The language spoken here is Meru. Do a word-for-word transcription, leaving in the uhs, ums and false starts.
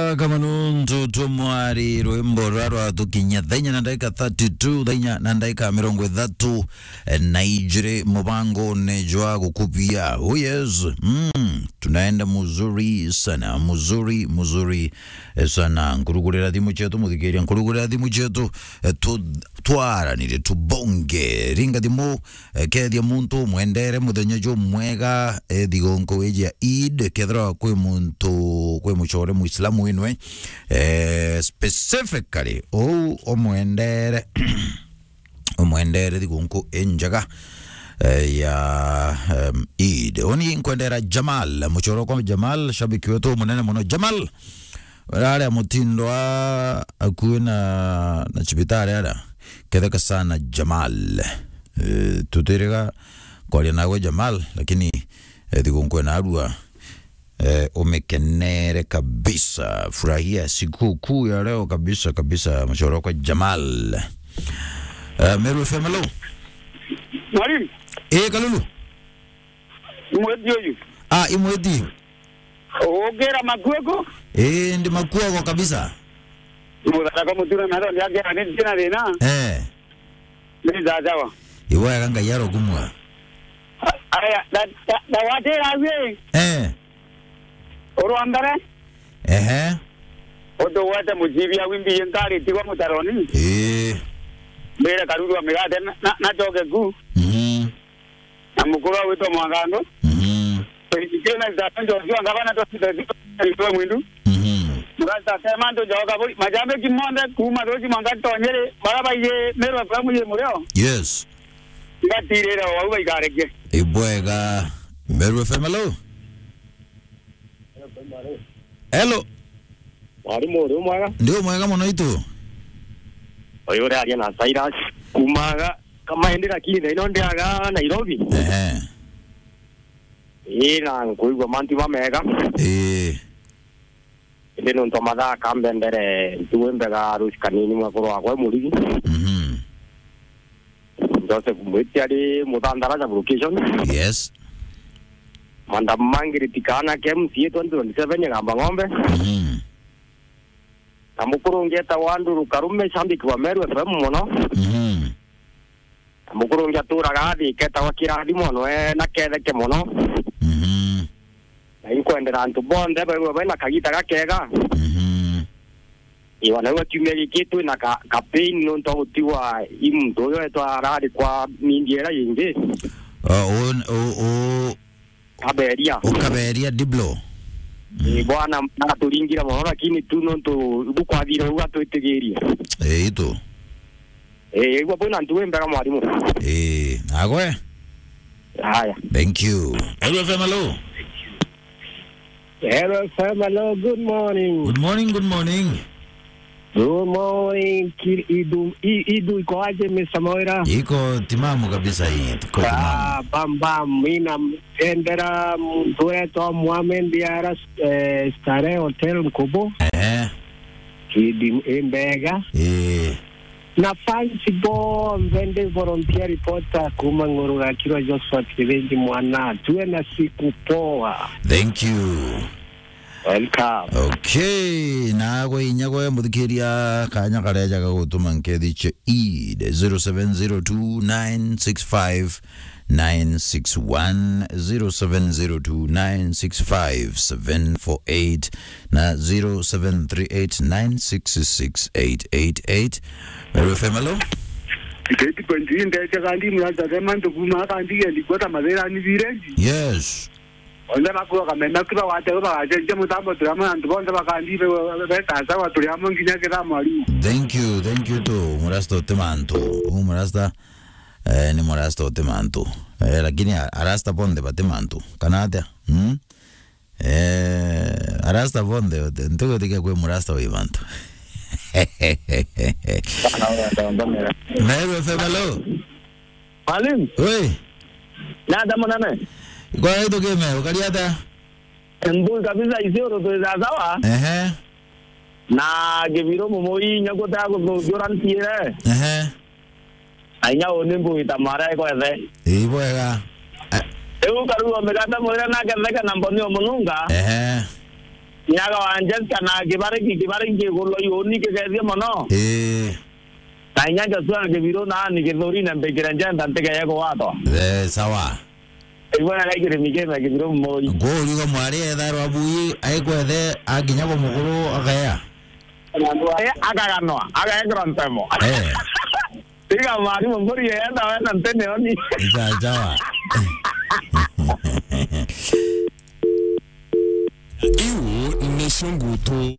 Kama nuntu tumwari rwimbo rwa rwatukinya thaa inya na ndagika thirty-two, thaa inya na ndagika mirongo ithatu na ijiri mubangone jwa gukupia. Oh yes. Mm. Tunaenda muzuri sana, muzuri, muzuri, eh, sana. Nkurugurira thimu cietu, muthikiria, nkurugurira thimu cietu, eh, tu-, twaranire, tubonge. Ringa thimu, eh, kethia muntu umwendere muthenya jumwega, eh, thigunku iji ya Eid, kethirwa kwi muntu, kwi mucore Muislamu winwe, eh, specifically, ou umwendere, umwendere thigunku injega, eh, ya, em, Eid. Uni nkwendera Jamal, mucore kwa Jamal, shabiki wetu munene muno. Jamal, Aria mutindwa akui na, na cibitari aria, ketheka sana Jamal. Eh, tutiriga kwaria nawe Jamal, lakini, eh, thigunku ena arua, eh, umikenere kabisa. Furahia sikukuu ya leo kabisa, kabisa, mucore kwa Jamal. Eh, Meru F M, hello. Mwalimu. Eh, Kalulu. Mweti uyu. Ah, imweti. Ugira makuoko? Eh, ndi makuoko kabisa. Muthara kwa mutura na ndo ndiagera ni ndina thina. Eh. Ni sawa. Iwega Ngai arokumua. Aya, da, da, da watera wi. Eh. Urwa mbere. Ehe. Utu wete mucibia wimbi nkari tigwa mutaroni. Eh. Mbere karuru wa migate na, na, na choke ku. Mhm. Na mukuru wa gwitwa Mwangandu. Mhm. Ikena zitatu njo zio ngabana to sita zio mwindu. Mhm. Murasta tema ndo njo kaburi. Majambe kimonthe kuma roji mwanga tonyere. Bara baiye Meru F M ye mureo. Yes. Ngatirira wau baikareke. Ibwega. Meru F M, hello. Hello. Mwalimu, uri mwega? Ndi umwega muno itu. Uyu uraria na Cyrus kumaga Kamaindi, lakini thaino ndiaga Nairobi. Ehe. Ii, na nkuigua mantu mamega. Ii. Indi nuntu mathaa kambendere ntuwe mbega ruci kanini mwekuru wakwa e murigi. Mhm. Joseph Mwiti ari Muthandara sub location. Yes. Madam Margaret Kaana ke M C A twenty twenty-seven Igamba Ng'ombe. Mhm. Na mukuru ungi etagwa Andrew Karume, shabiki wa Meru F M muno. Mhm. Na mukuru ungi aturaga athi ketagwa Kirathimo, noe na ketheke muno. Mhm. Na inkwendera antu bonthe baigwe baina kagita gakega. Mhm. Iwa, na iwa kiumia giki twina ka, ka pain nontu wa gutigwa i muntu uyu etwa arari kwa mindi ira yingi. Ah, u, u, u, Kaberia. Ukaberia Diblo. Mm. Ii, bwana, naturingira muno, lakini tu nontu bukwathire uga twitigirie. Ii, itu. Ii, igua bwina ntu wi mbega mwarimu. Ii, nagwe. Haya. Thank you. Hello F M, hello. Hello F M, hello, good morning. Good morning, good morning. Good morning, Kir-, Idu, I-, Idu, iko aje, Mister Mawira? Iko timamu kabisa hii, iko timamu. Ah, bam, bam, mi naendera muntu wetwa Mohamed Diara, eh, Starehe Hotel Nkubu. Ehe. Kidi, i mbega. Eh. Na fans bonthe, ndi volunteer reporter kuma Ng'uru Gakirwa, Josphat Kithinji Mwana. Tuwe na siku poa. Thank you. Welcome. Okay, na gwe inya gwe muthikiria, kanya karia jaga gutuma nkethi cia Eid, zero seven zero two nine six five nine six one, zero seven zero two nine six five seven four eight na zero seven three eight nine six six eight eight eight. Meru F M, hello? Keti kwenzi ndeche kandi muraza mantu kuma kandi ya ndikwata mathira ni virenji. Yes. Onthe bakuoka mena kiba wate bagacenjia mutambo turi amwe na antu bonthe bakandi be-, be-, betaca wa turi amwe nginya kithamo ariu. Thank you, thank you to Murasta uti mantu. U Murasta, eh, ni Murasta uti mantu. Eh, lakini a-, arasta bonthe bati mantu. Kana atia? Hmm? Eh, arasta bonthe, ntigwitikia kwi Murasta wi mantu. Meru F M, hello. Mwalimu. Oi. Nada munene. Kwa itu kime, ukari atia? Mbui kabisa, Isiolo twi sawa. Ehe. Na Kibiro mumui nyakuta kuthunjura ntiire. Ehe. Ainya uni mbui ta mara ikwethe. Ii bwega. Eh. Riu karuo migate mwire nake theke na mboni o mununga. Ehe. Nyaga wa Njesta na kibare ki-, kibare kigulwa iuni kigethie mono. Ii. Na inya Joshua Kibiru na ni githuri na mbikire njenda ntigeye kugwatwa. Eh, sawa. Igwe na gaikire mikeme Kibiru moi. Ngurigo mwari etharwa bui aikwethe akinya kwa mukuru akaya. Eh, akaganwa, agekirwa ntemo. Eh. Tiga mwarimu mburi yenda wena ntene oni. Sawa, sawa. Iu nicio ngutu.